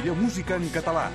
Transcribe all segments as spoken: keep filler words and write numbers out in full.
Música en català.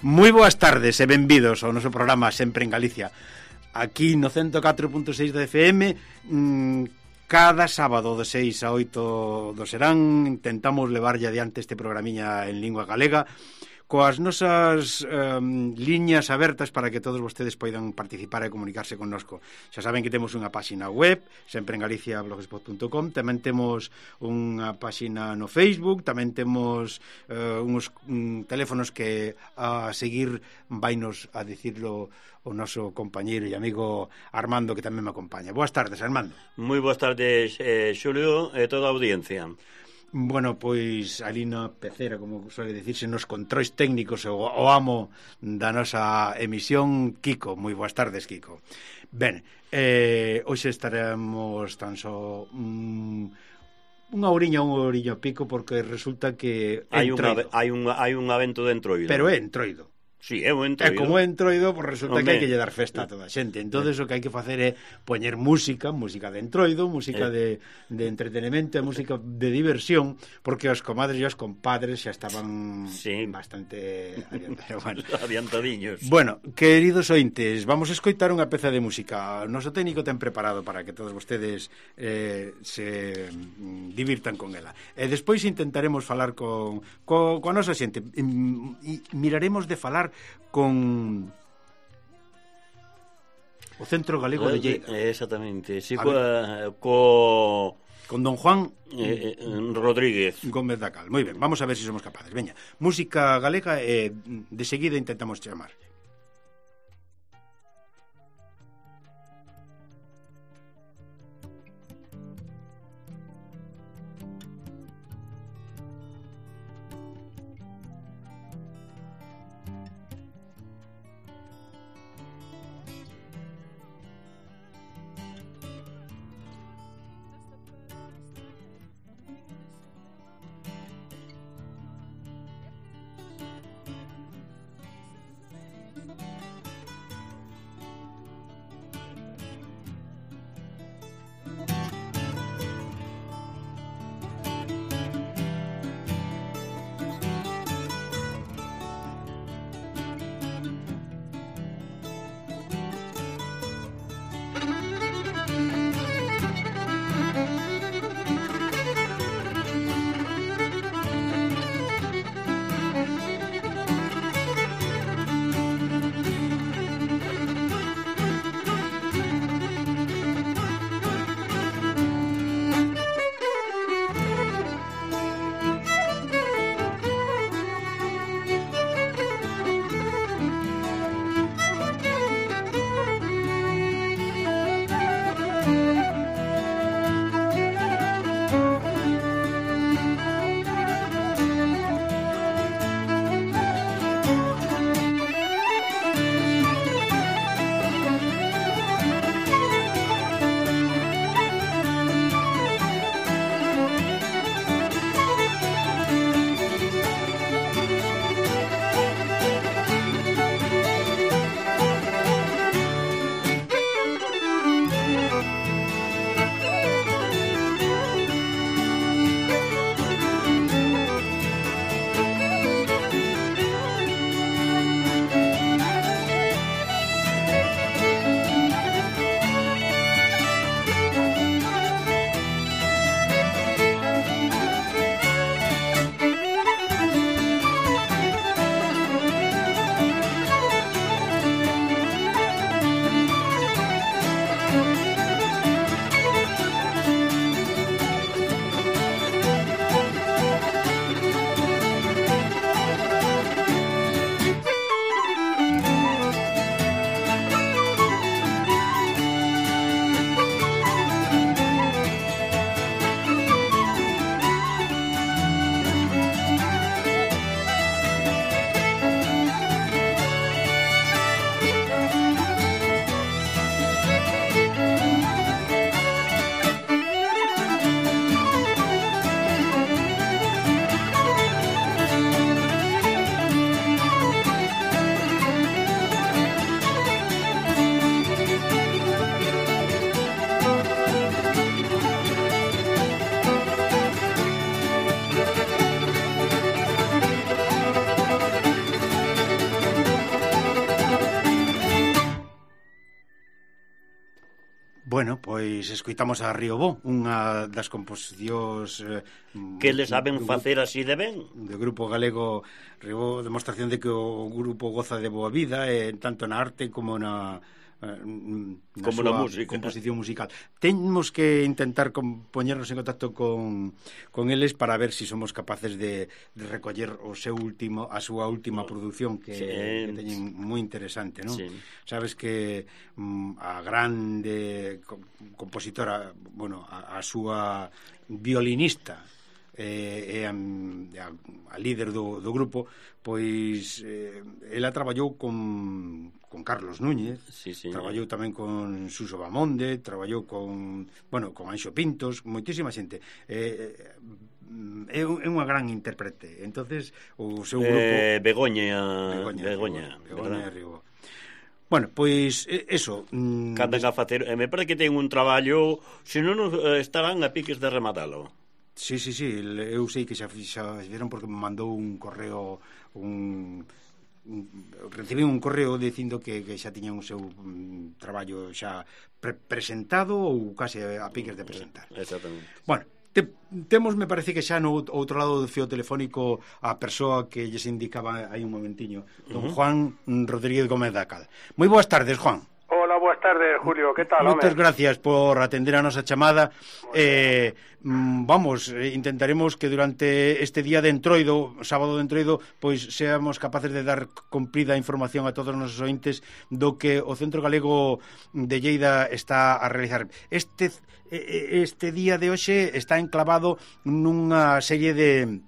Moi boas tardes e benvidos ao noso programa Sempre en Galicia. Aquí no ciento catro punto seis da F M, mmm, cada sábado de seis a oito do serán intentamos levarlle adiante este programiña en lingua galega coas nosas um, liñas abertas para que todos vostedes poidan participar e comunicarse connosco. Xa saben que temos unha páxina web, sempre en Galicia blogspot punto com, tamén temos unha páxina no Facebook, tamén temos uh, uns um, teléfonos que a seguir vainos a dicirlo o noso compañeiro e amigo Armando, que tamén me acompaña. Boas tardes, Armando. Moi boas tardes, eh, Xulio, e toda a audiencia. Bueno, pois ali na pecera, como suele dicirse, nos controis técnicos o, o amo da nosa emisión, Kiko. Moi boas tardes, Kiko. Ben, eh, hoxe estaremos tan só um, unha oriña, unha oriña pico, porque resulta que hai un, hai un, hai un evento de Entroido. Pero é Entroido. Sí, é o Entroido. E como é Entroido, pues resulta Hombre. que hai que lle dar festa a toda a xente. Entón, o que hai que facer é poñer música, música de Entroido, música eh. de, de entretenimento, música de diversión, porque os comadres e os compadres xa estaban sí. bastante bueno. adiantadiños. Bueno, queridos ointes, vamos a escoitar unha peza de música. O noso técnico ten preparado para que todos vostedes eh, se divirtan con ela. E despois intentaremos falar con, con, con a nosa xente. E miraremos de falar con o Centro Galego de Lleida. Exactamente, sí, co, co con don Juan eh, eh, Rodríguez Gómez da Cal. Moi ben, vamos a ver se si somos capaces. Veña, música galega e eh, de seguida intentamos chamar. Bueno, pois escoitamos a Río Bo, unha das composicións eh, que le saben facer así de ben. Do grupo galego Río Bo, demostración de que o grupo goza de boa vida, eh, tanto na arte como na Na como na música, composición musical. Temos que intentar poñernos en contacto con, con eles para ver si somos capaces de, de recoller o seu último, a súa última produción que, sí, que teñen moi interesante, non? Sí. Sabes que mm, a grande compositora, bueno, a, a súa violinista e eh, a, a líder do, do grupo, pois eh, ela traballou con, con Carlos Núñez, sí, sí. Traballou tamén con Suso Bamonde, traballou con, bueno, con Anxo Pintos, moitísima xente. Eh, é, é unha gran intérprete. Entonces, o seu grupo eh, Begoña Begoña, Begoña, Begoña Río. Bueno, pois, eso... Mm, Cantan a facer... Me parece que ten un traballo... Se non estarán a piques de rematalo. Sí, sí, sí, eu sei que xa, xa viron porque me mandou un correo, un, un recibí un correo dicindo que, que xa tiñan o seu um, traballo xa pre presentado ou case a piques de presentar. Exactamente. Bueno, te, temos, me parece que xa no outro lado do fío telefónico a persoa que lles indicaba aí un momentiño, don uh -huh. Juan Rodríguez Gómez Dacal. Moi boas tardes, Juan. Hola, boas tardes, Julio, que tal, home? Moitas gracias por atender a nosa chamada. Eh, vamos, intentaremos que durante este día de Entroido, sábado de Entroido, pois seamos capaces de dar cumprida información a todos os nosos ointes do que o Centro Galego de Lleida está a realizar. Este, este día de hoxe está enclavado nunha serie de...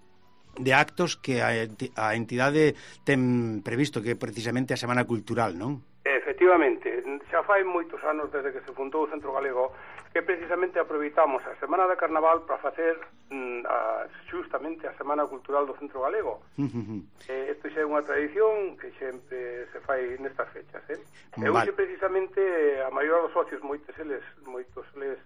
de actos que a entidade ten previsto, que é precisamente a Semana Cultural, non? Efectivamente, xa fai moitos anos desde que se fundou o Centro Galego que precisamente aproveitamos a Semana de Carnaval para facer mm, a, justamente a Semana Cultural do Centro Galego. eh, Isto xa é unha tradición que sempre se fai nestas fechas, eh? E hoxe precisamente a maioría dos socios, moitos eles, moitos eles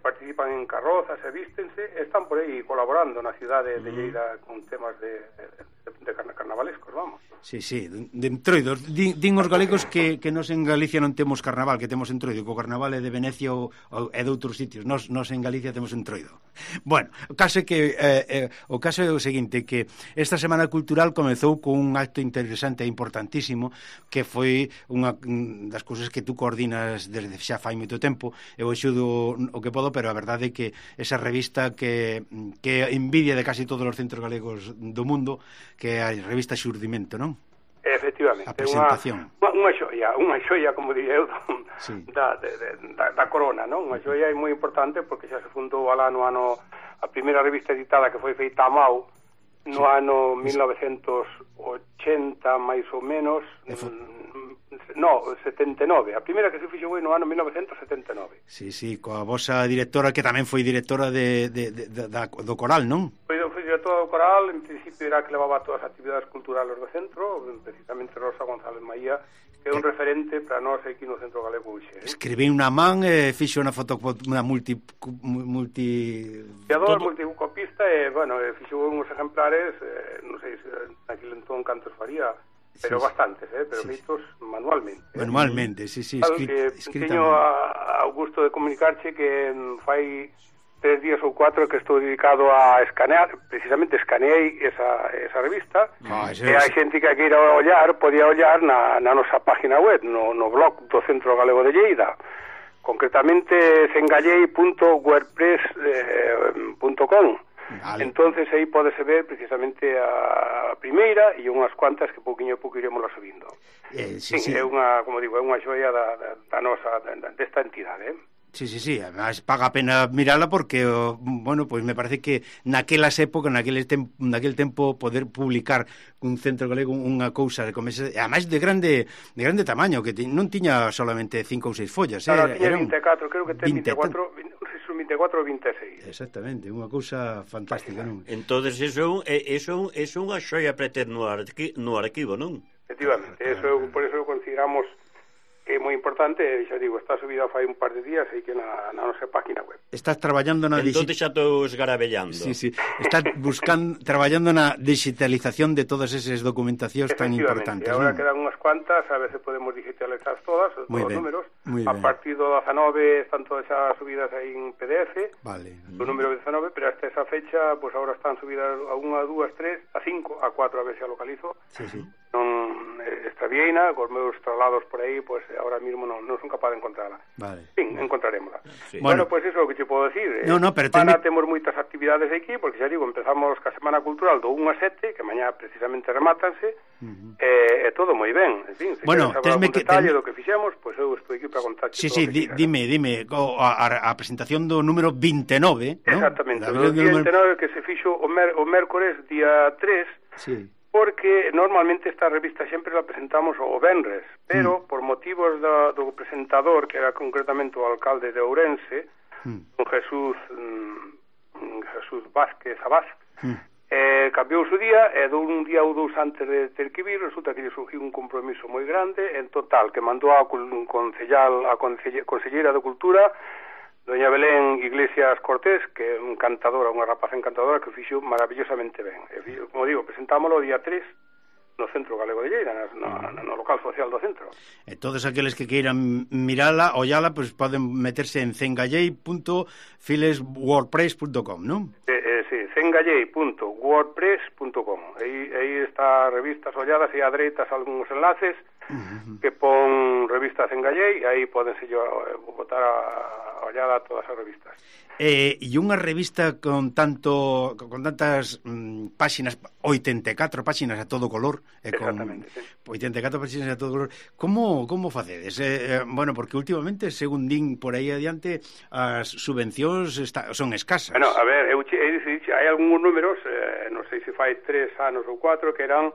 participan en carrozas e vístense, están por aí colaborando na cidade de Lleida con temas de, de, de carnavalescos, vamos. Sí, sí, de entroidos. Din, din os galegos que, que nos en Galicia non temos carnaval, que temos entroido, que o carnaval é de Venecia ou, ou é de outros sitios. Nos, nos en Galicia temos entroido. Bueno, o caso é que eh, eh, o caso é o seguinte, que esta Semana Cultural comezou con un acto interesante e importantísimo, que foi unha das cousas que tú coordinas desde xa fai moito tempo. Eu axudo o que podo, pero a verdade é que esa revista que, que envidia de casi todos os centros galegos do mundo, que é a revista Xurdimento, non? Efectivamente, a presentación. Unha, unha xoia, unha xoia, como diría eu, sí. da, de, de, da, da corona, non? Unha xoia moi importante porque xa se fundou alá no ano, a primeira revista editada que foi feita a Mau, no sí. ano mil novecentos ochenta, máis ou menos, no, setenta e nove. A primeira que se fixo foi no ano mil novecentos setenta e nove. Sí, sí, coa vosa directora, que tamén foi directora de, de, de, de, de, do Coral, non? Foi, foi directora do Coral, en principio era que levaba todas as actividades culturales do centro, precisamente Rosa González Maía, que é un referente para nós aquí no Centro Galego hoxe. Eh? Escribí unha man e eh, fixo unha foto, unha multi... multi... Fiador, todo... multicopista, e, bueno, e fixo uns exemplares, eh, non sei se naquele entón cantos faría, pero sí, bastantes, eh, pero sí, feitos manualmente. Eh. Manualmente, sí, sí. Claro, que teño a, a gusto de comunicarche que fai tres días ou cuatro que estou dedicado a escanear, precisamente escaneei esa, esa revista, ah, e hai xente que queira ollar, podía ollar na, na nosa página web, no, no blog do Centro Galego de Lleida, concretamente cengallei punto wordpress punto com. Vale. Entonces aí podese ver precisamente a primeira e unhas cuantas que pouquiño a pouco iremos subindo. Eh, sí, sí, sí. É unha, como digo, é unha xoia da, da, da nosa, da, desta entidade, eh? Sí, sí, sí, además paga a pena mirala porque, bueno, pois pues me parece que naquelas épocas, naquele tempo, naquele tempo poder publicar un centro galego unha cousa como ese, además de grande de grande tamaño, que non tiña solamente cinco ou seis follas, claro, eh, tiña vinte e catro, creo que ten vinte e catro, vinte e catro ou vinte e seis. Exactamente, unha cousa fantástica, non? Entonces eso é eso é unha xoia para ter no arquivo, no arquivo, non? Efectivamente, eso, por eso consideramos que é moi importante, xa digo, está subida fai un par de días aí que na, na nosa página web. Estás traballando na entón xa estou esgarabellando. Sí, sí. Estás buscando traballando na digitalización de todas esas documentacións tan importantes. E agora ¿no? quedan unhas cuantas, a ver se podemos digitalizar todas, todos muy os ben, números. A ben. Partir do dezanove están todas xa subidas aí en P D F. Vale. O número dezanove, pero hasta esa fecha, pues ahora están subidas a unha, a dúas, tres, a cinco, a cuatro, a ver se a localizo. Sí, sí. Non eh, extravieina, cos meus traslados por aí, pues ahora mismo non, non son capaz de encontrarla. Vale. Fin, encontrarémosla. Sí. Bueno, pues eso é o que te podo decir. No, no, pero Semana ten... temos moitas actividades aquí, porque xa digo, empezamos ca Semana Cultural do un a sete, que mañá precisamente remátanse, uh -huh. e, e todo moi ben. En fin, se bueno, queres saber algún detalle ten... do que fixemos, pues eu estou aquí para contar. Sí, sí, di, dime, dime, a, a presentación do número veintenove, ¿no? Exactamente, o día veintenove que se fixo o, mer, o mércores día tres, sí. Porque normalmente esta revista sempre la presentamos o venres, pero mm. por motivos do, do presentador, que era concretamente o alcalde de Ourense, mm. don Jesús mm, Jesús Vázquez Abás, mm. eh, cambiou o día, e dun día ou dous antes de ter que vir, resulta que lle surgiu un compromiso moi grande, en total, que mandou a concellal, a conselleira de Cultura, doña Belén Iglesias Cortés, que é un encantadora, unha rapaza encantadora que o fixo maravillosamente ben. E, como digo, presentámoslo o día tres no Centro Galego de Lleida, no, no, no local social do centro. E todos aqueles que queiran mirala, ollala, pues poden meterse en cengallei punto files wordpress punto com, non? Eh, eh, sí, cengallei punto wordpress punto com. Aí, aí está revistas olladas e a dereitas algúns enlaces uh-huh. que pon revistas Cengallei, aí podense yo botar a ollada a todas as revistas. Eh, e unha revista con tanto con tantas mm, páxinas, oitenta e catro páxinas a todo color, e con sí. oitenta e catro páxinas a todo color. Como como facedes? Eh, eh, bueno, porque últimamente, según din por aí adiante, as subvencións está, son escasas. Bueno, a ver, eu, eu, eu, hai algúns números, eh, non sei se fai tres anos ou cuatro, que eran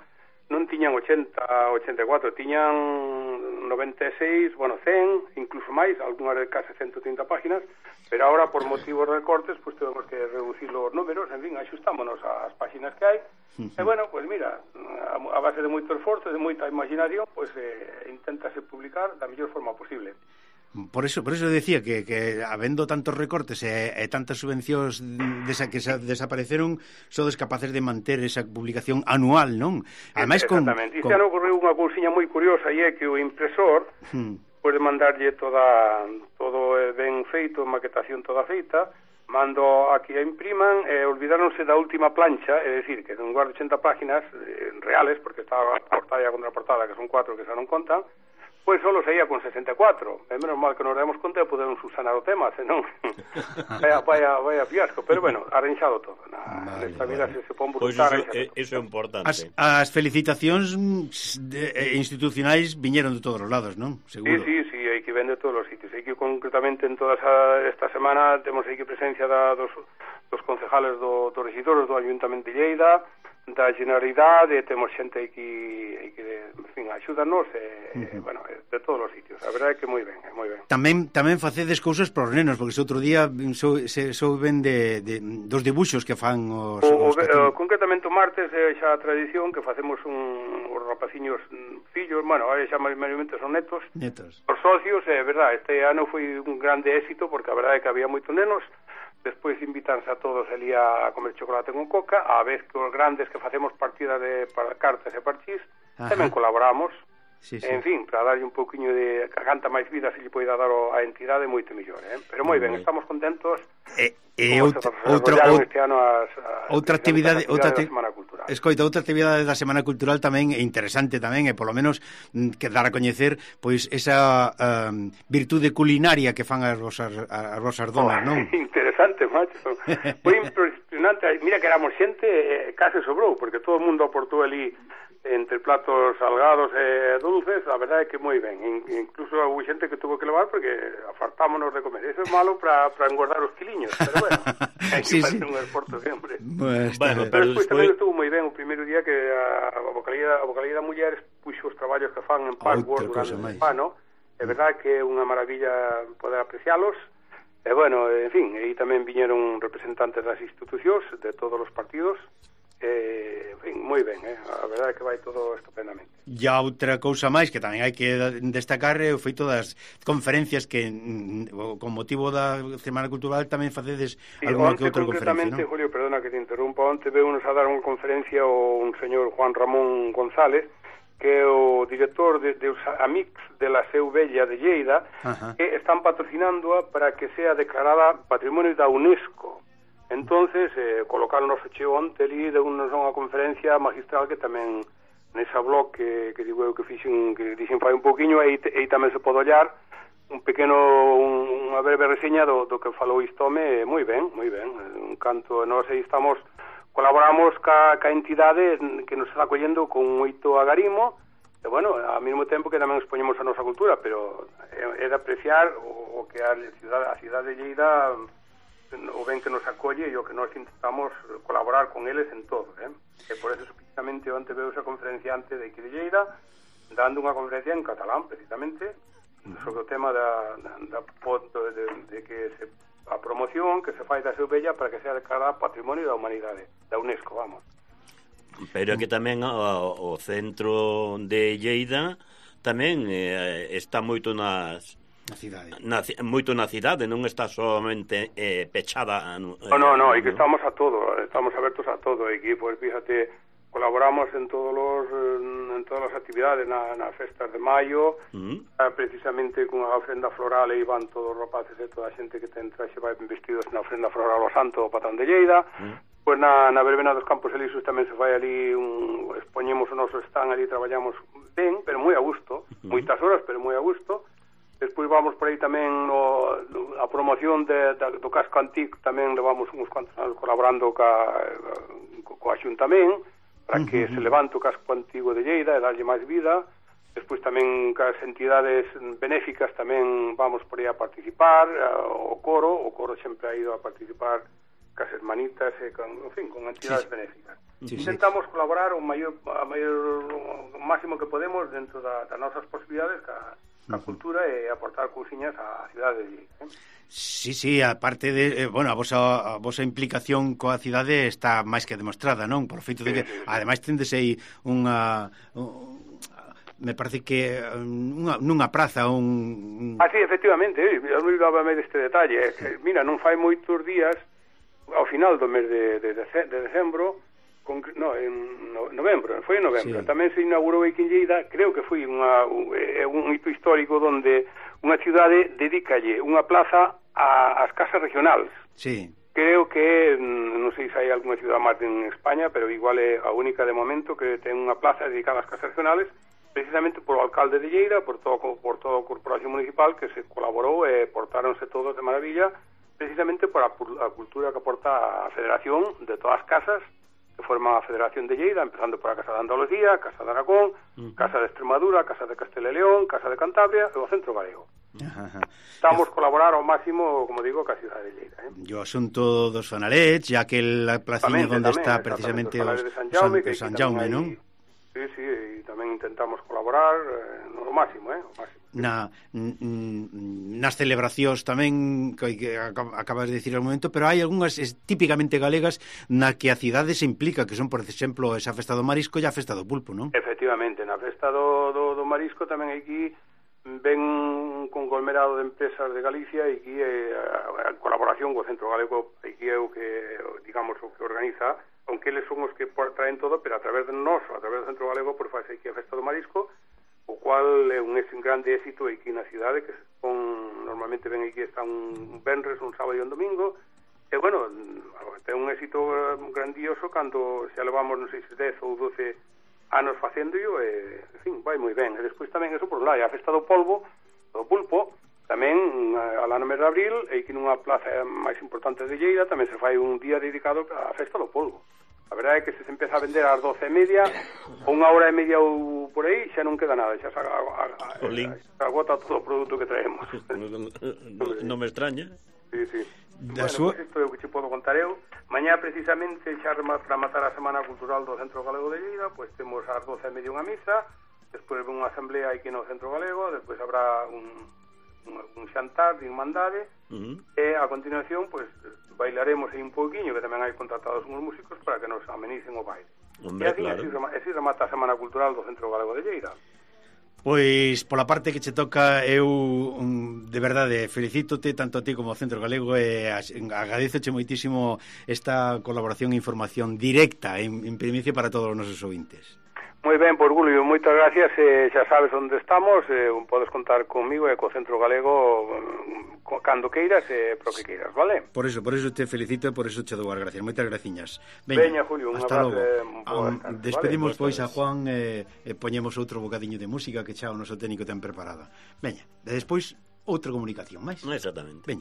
non tiñan ochenta, ochenta e catro, tiñan noventa e seis, bueno, cen, incluso máis, algunhas de case ciento trinta páginas, pero agora por motivos de recortes, pues temos que reducir os números, en fin, axustámonos ás páginas que hai, uh-huh. e bueno, pues mira, a, a base de moito esforzo, de moita imaginación, pues eh, inténtase publicar da mellor forma posible. Por eso, por eso decía que, que habendo tantos recortes e, e tantas subvencións desa, que sa, desapareceron, sodes capaces de manter esa publicación anual, non? Ademais, exactamente. Con, con... Este ano ocorreu unha cousiña moi curiosa, e é que o impresor hmm. pode mandarlle toda todo ben feito, maquetación toda feita, mando aquí a impriman, e olvidáronse da última plancha, é dicir, que en lugar de ochenta páginas eh, reales, porque estaba a portada e a contraportada, que son cuatro que xa non contan, pois solo saía con sesenta e catro. É menos mal que nos demos conta e podemos subsanar o tema, senón vaya, vaya, vaya fiasco. Pero bueno, arranxado todo. Na, vale, nesta vida vale. se, se pon brutar. Pois pues iso, iso é importante. As, as felicitacións de, eh, institucionais viñeron de todos os lados, non? Seguro. Sí, sí, sí, hai que ven de todos os sitios. Hai que concretamente en toda esa, esta semana temos aí que presencia da, dos, dos concejales do, dos regidores do Ayuntamento de Lleida, da Generalidade, temos xente aquí, aquí de, en fin, axúdanos e, uh-huh. bueno, de todos os sitios. A verdade é que moi ben, é moi ben. Tamén tamén facedes cousas para os nenos, porque ese outro día so, se souben de, de dos dibuxos que fan os, o, os o, concretamente o martes é xa a tradición que facemos un, os rapaciños fillos, bueno, aí xa maiomente son netos, netos. Os socios, é verdade, este ano foi un grande éxito porque a verdade é que había moitos nenos. Despois invitanse a todos ali a comer chocolate con coca, a vez que os grandes que facemos partida de para cartas e parchís, tamén colaboramos. Sí, sí. En fin, para darlle un pouquiño de canta máis vida se lle poida dar a entidade moito mellor, eh? Pero moi ben, estamos contentos. E, e outra outra este ano as, as outra actividade, outra da Semana Cultural. Escoita, outra actividade da Semana Cultural tamén é interesante tamén, e polo menos que dar a coñecer pois esa um, virtude culinaria que fan as vosas as vosas donas, oh, non? Interesante, macho. Foi impresionante, mira que éramos xente, eh, case sobrou, porque todo o mundo aportou ali entre platos salgados e dulces, a verdade é que moi ben. Incluso houve xente que tuvo que levar porque afartámonos de comer. Eso é malo para engordar os quiliños, pero bueno, hai que sí, facer sí. un esforzo sempre. Pues, bueno, pero despois tamén estuvo moi ben o primeiro día que a vocalía, a vocalía da Mulleres puxo os traballos que fan en Password durante o ano. É verdade que é unha maravilla poder aprecialos. E bueno, en fin, aí tamén viñeron representantes das institucións de todos os partidos. Eh, en fin, moi ben, eh? A verdade é que vai todo estupendamente. E a outra cousa máis que tamén hai que destacar é o feito das conferencias que con motivo da Semana Cultural tamén facedes sí, alguna que outra conferencia, non? Julio, perdona que te interrumpa, onte veunos a dar unha conferencia o un señor Juan Ramón González, que é o director de, de os Amics de la Seu Vella de Lleida, Ajá. que están patrocinándoa para que sea declarada Patrimonio da UNESCO. Entonces, eh, colocaron o noso cheo onte ali de unha conferencia magistral que tamén nesa blog que, que digo eu que fixen, que dixen fai un poquinho, aí, aí tamén se pode ollar un pequeno, un, unha breve reseña do, do que falou Istome, moi ben, moi ben, un canto, nós aí estamos, colaboramos ca, ca entidade que nos está acollendo con moito agarimo, e bueno, ao mesmo tempo que tamén expoñemos a nosa cultura, pero é, é de apreciar o, o que a cidade, a cidade de Lleida o ben que nos acolle e o que nós intentamos colaborar con eles en todo, eh? E por eso precisamente onte veo esa conferenciante de aquí de Lleida dando unha conferencia en catalán precisamente sobre o tema da, da, da de, de que se, a promoción que se fai da Seu Vella para que sea declarada Patrimonio da Humanidade da UNESCO, vamos. Pero que tamén o, o centro de Lleida tamén eh, está moito nas na cidade. Na, moito na cidade, non está solamente eh, pechada. No, no, no, e que estamos a todo, estamos abertos a todo, e que, pues, fíjate, colaboramos en todos los en todas as actividades na, na festas de maio, uh-huh. eh, precisamente con a ofrenda floral e iban todos os rapaces e toda a xente que ten traxe vai vestidos na ofrenda floral ao santo o patrón de Lleida. Uh-huh. Pois pues na, na verbena dos Campos Elíseos tamén se vai ali, un, expoñemos o noso stand ali, traballamos ben, pero moi a gusto, uh-huh. moitas horas, pero moi a gusto. Despois vamos por aí tamén no, a promoción de, de, do casco antigo, tamén levamos uns cuantos anos colaborando ca, coa Xuntamén para que uh -huh. se levante o casco antigo de Lleida e darlle máis vida. Despois tamén cas entidades benéficas tamén vamos por aí a participar, o coro, o coro sempre ha ido a participar cas hermanitas e con, en fin, con entidades sí. benéficas. Sí, Intentamos sí. colaborar o maior, a maior, o máximo que podemos dentro da, das nosas posibilidades ca a cultura e aportar cousiñas á cidade de Lleida, eh? Sí, sí, aparte de, eh, bueno, a vosa, a vosa implicación coa cidade está máis que demostrada, non? Por feito de que, sí, sí, sí. ademais, tendes aí unha... Un, me parece que unha, nunha praza un... Ah, sí, efectivamente, eu non dábame deste detalle, sí. Mira, non fai moitos días ao final do mes de, de, de, de decembro, con, no, en no, novembro, foi en novembro, sí. Tamén se inaugurou aquí en Lleida, creo que foi unha, un, un hito histórico onde unha cidade dedicalle unha plaza a, ás casas regionais. Sí. Creo que, non sei se hai algunha cidade máis en España, pero igual é a única de momento que ten unha plaza dedicada ás casas regionais, precisamente por o alcalde de Lleida, por todo por todo a corporación municipal que se colaborou e portáronse todos de maravilla, precisamente por a, a cultura que aporta a Federación de todas as casas que forman a Federación de Lleida, empezando por a Casa de Andalucía, Casa de Aragón, uh-huh. Casa de Extremadura, Casa de Castela e León, Casa de Cantabria e o Centro Galego. Uh-huh. Estamos a colaborar ao máximo, como digo, ca cidade de Lleida. Eh? E o asunto dos Fanalets, ya que la placiña onde está precisamente os Fanalets de San Jaume, San, San Jaume, non? Sí, sí, e tamén intentamos colaborar eh, no máximo, eh, o máximo. Na, nas celebracións tamén que, que acabas de dicir ao momento, pero hai algunhas típicamente galegas na que a cidade se implica, que son, por exemplo, esa festa do marisco e a festa do pulpo, non? Efectivamente, na festa do, do, do marisco tamén aquí ven un conglomerado de empresas de Galicia e aquí eh, a, a colaboración co Centro Galego aquí é o que, digamos, o que organiza, aunque eles son os que traen todo, pero a través de nós, a través do Centro Galego, por faz aquí a festa do marisco, o cual é un, un grande éxito aquí na cidade, que son, normalmente ven aquí está un venres, un sábado e un domingo, e bueno, ten un éxito grandioso cando xa levamos, non sei se dez ou doce anos facéndolo, e, en fin, vai moi ben. E despois tamén, eso por un lado, a festa do polvo, do pulpo, tamén, alá no mes de abril, e aquí nunha plaza máis importante de Lleida, tamén se fai un día dedicado á festa do polvo. A verdade é que se se empeza a vender ás doce e media, unha hora e media ou por aí, xa non queda nada, xa se agota todo o produto que traemos. Non me extraña. Sí, sí. Da bueno, súa... pues isto é o que che podo contar eu. Mañá, precisamente, xa para matar a Semana Cultural do Centro Galego de Lleida, pois pues temos ás doce e media unha misa, despois unha asamblea aquí no Centro Galego, despois habrá un... un, un xantar de irmandade, uh-huh. E a continuación, pois, pues, bailaremos aí un pouquiño, que tamén hai contratados uns músicos para que nos amenicen o baile. Hombre, e así, claro. así remata a Semana Cultural do Centro Galego de Lleida. Pois, pola parte que che toca, eu um, de verdade felicítote tanto a ti como ao Centro Galego e agradezoche moitísimo esta colaboración e información directa en, en primicia para todos os nosos ouvintes. Moi ben, por Julio, moitas gracias, eh, xa sabes onde estamos, eh, podes contar comigo e co Centro Galego eh, cando queiras e eh, pro que queiras, vale? Por eso, por eso te felicito e por eso che dou as gracias. Moitas graciñas. Veña, Julio, un hasta abrazo. Logo. Um, despedimos vale? pois a Juan e eh, eh, poñemos outro bocadiño de música que xa o noso técnico ten preparada. Veña, e despois outra comunicación máis. Exactamente. Veña.